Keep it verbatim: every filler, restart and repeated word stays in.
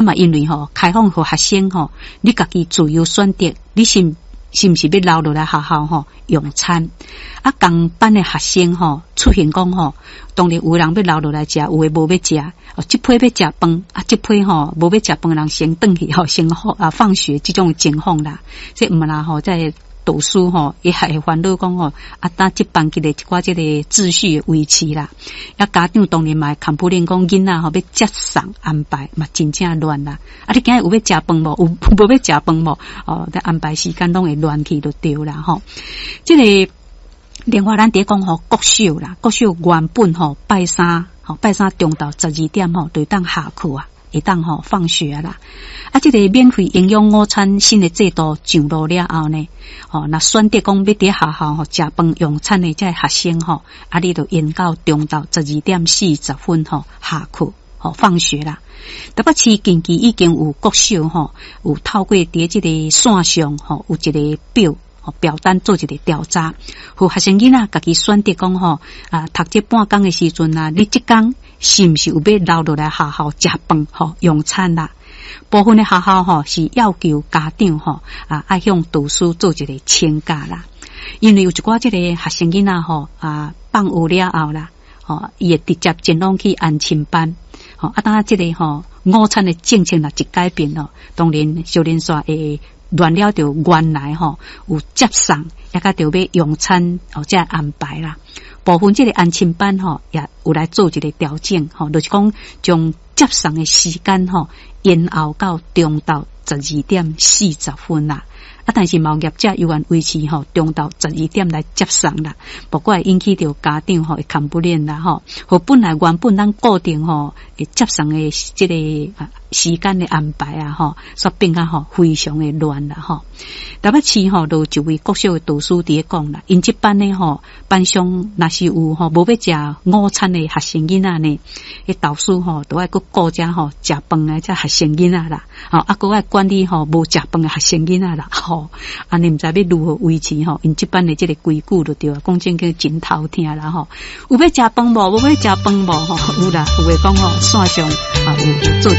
嘛，因為吼開放予學生吼，你家己自由選擇，你是是毋是欲留落來學校吼用餐？啊，仝班的學生吼出現講吼，當然有人欲留落來食，有的無欲食。哦，這批欲食飯，啊，這批吼無欲食飯的人先轉去吼，先放啊放學這種情況啦。這毋啦吼，在導師吼伊還會煩惱講吼，啊，當這班級的一寡這個秩序的維持啦。啊，家長當然嘛會 complain 講囡仔吼欲接送安排嘛真正亂啦。啊，你今日有欲食飯無？有無欲食飯無？哦，這安排時間攏會亂去就對啦吼。這個另外咱佇咧講吼國小啦，國小原本吼拜三吼拜三中晝十二點吼就會當下課啊，會當吼放學啦。啊，這個免費營養午餐新的制度上路了後呢，吼，若選擇講欲佇學校吼食飯用餐的這个學生吼，啊，你就延到中晝十二點四十分吼下課吼放學啦。台北市近期已經有國小吼，有透過佇這個線上吼有一個表。表單做一個調查，予學生囡仔家己選擇講吼啊，讀這半工的時陣啊，你這工是毋是有欲留落來學校食飯吼用餐啦？部分的學校吼是要求家長吼啊，愛向導師做一個請假啦。因為有一寡這個學生囡仔吼啊，放學了後啦，吼伊會直接前往去安親班。吼啊，當這個吼午餐的政策若一改變咯，當然小連煞會亂了，著原來吼有接送，抑閣著欲用餐哦，這安排啦。部分這個安親班吼也有來做一個調整，吼，就是講將接送的時間吼延後到中晝十二點四十分啦。啊，但是嘛有業者猶原維持吼中晝十二點來接送啦，不過會引起著家長吼會 complain 啦吼，予本來原本咱固定吼會接送的這個時間的安排啊吼，煞變甲吼非常的亂啦吼。台北市吼，就有一位國小的導師佇咧講啦，𪜶這班的吼班上若是有吼無欲食午餐的學生囡仔呢，彼導師吼都愛閣顧遮吼食飯的這學生囡仔啦，吼啊閣愛管理吼無食飯的學生囡仔啦，吼，按呢毋知欲如何維持吼𪜶這班的這個規矩就對啊，講真叫真頭疼啦吼。有欲食飯無？無欲食飯無？吼，有啦，有的講吼線上啊有有做。